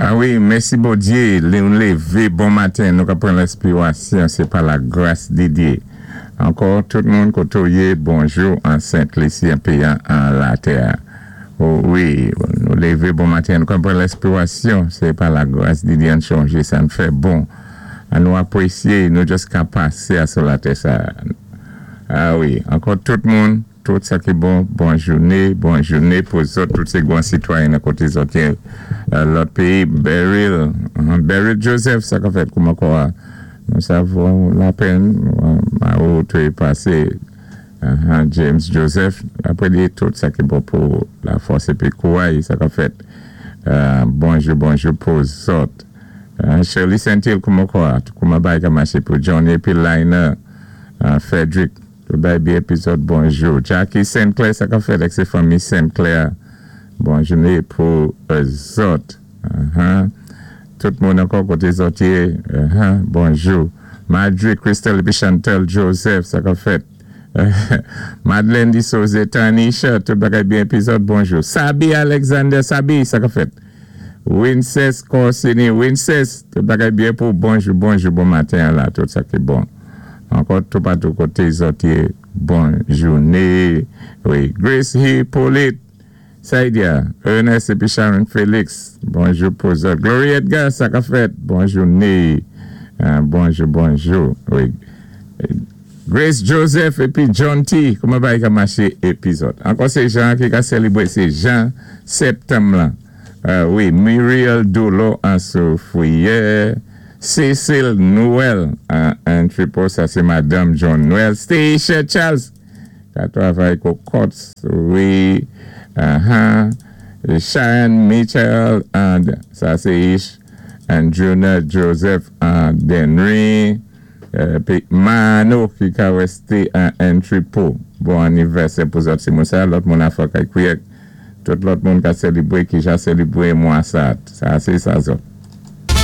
A wi, mèsi Bondyé, lè nou lévé bon maten, nou ka pran lèspirasyon, sé pa la gras di Dyé. Ankò, tout moun koté ou yé, bonjou an Sent Lisi, an péyi an latè. O wi, nou lévé bon maten, nou ka pran lèspirasyon, sé pa la gras di Dyé. Ann chonjé sa n fè bon, an nou apwésyé nou just ka pasé a sou latè sa. A wi, ankò tout moun, tout sa ki bon, bon jouné, bon jouné pou zòt, tout sé gwan sitwayen nan koté zòt yé, lòt péyi. Beryl, Beryl Joseph, sa ka fèt, kouman kò a? Nou sa vo lapèn, ma ou té pasé, James Joseph, apwé di tout sa ki bon pou la fòs épi kouray, sa ka fèt? Bonjou, bonjou pou zòt. Shirley Saint-Hill, kouman kò a? Kouman bagay ka maché pou Johnny épi Liner, Frederick, tout bagay byen épi zòt, bonjou. Jackie St. Clair, sa ka fèt ak sé fanmi St. Clair, bon jouné pou zòt. Tout moun ankò koté zòt yé, bonjou. Madre Crystal épi Chantal Joseph, sa ka fèt? Madeleine Di Soze, Tanisha, tout bagay byen épi zòt, bonjou. Sabi Alexander, Sabi, sa ka fèt? Winces Corsini, Winces, tout bagay byen pou bonjou, bonjou, bon maten la, tout sa ki bon. Ankò toupatou koté zòt yé, bon jouné. Wi, Grace Hippolyte, Saidia, Ernest épi Sharon Félix, bonjou pou zòt. Glory Edgar, sa ka fèt? Bon jouné. Bonjou, bonjou. Wi. Grace Joseph épi John T, kouman bagay ka maché épi zòt? Ankò sé Jean ki ka sélébwé, sé Jean Septanm lan. Wi, Muriel Dolo an Soufrière, Cécile Noël an Entrepôt, sa sé madanm John Noël, Stacia Charles ka twavay ko Courts, wi, Sharon Mitchell and sa sé Ish and Junior Joseph an Denry, épi Mano ki ka wèsté an Entrepôt. Bon anivèsè pou zòt si moun sa, lòt moun a fò kay kwiyèk. Tout lòt moun ka sélébwé ki ja sélébwé mwa sa. Sa sé sa zòt.